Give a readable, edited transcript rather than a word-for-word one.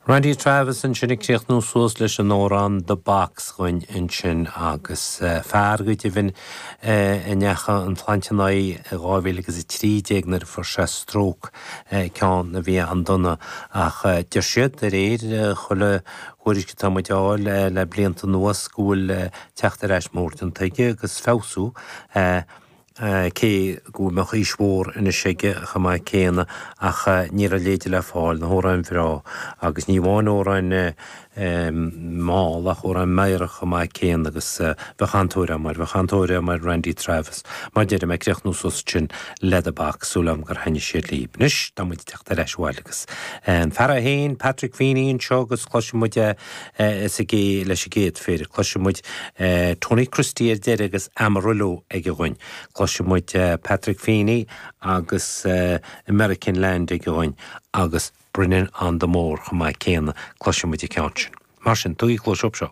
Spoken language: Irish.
Randy Travis ansin ag críochnú suas leis an amhrán The Box dhúinn ansin agus fear go deimhin a ndeachaigh an tsláinte ina aghaidh i 2013 nuair a fuair sé stróc, ceann a bhí an-dona ach deir siad de réir chuile thuairisc atá muid a fháil le blianta anuas go bhfuil teacht ar ais mór déanta aige agus feabhsú. cé go mbeadh aois mhór anois aige chomh maith céanna, ach ní raibh a leithéide le fáil, na hamhráin bhreá, agus ní amháin amhráin mhall ach amhráin mheidhreach chomh maith céanna agus bheadh an-tóir orm air, bheadh an-tóir orm ar Randy Travis. Mar a deirim, ag críochnú suas ansin le The Box, súil agam gur thaitnigh sé libh. Anois, tá muid ag teacht ar ais abhaile agus an fear é féin, Patrick Feeney anseo agus cloisfidh muid é leis an gcéad phéire. Cloisfidh muid Tony Christie ar deireadh agus Amarillo aige dhúinn. Cloisfidh muid Patrick Feeney agus American Land aige dhúinn agus Bringin' on the Moor chomh maith céanna, cloisfidh muid an ceann sin. Mar sin, tugaigí cluas seo.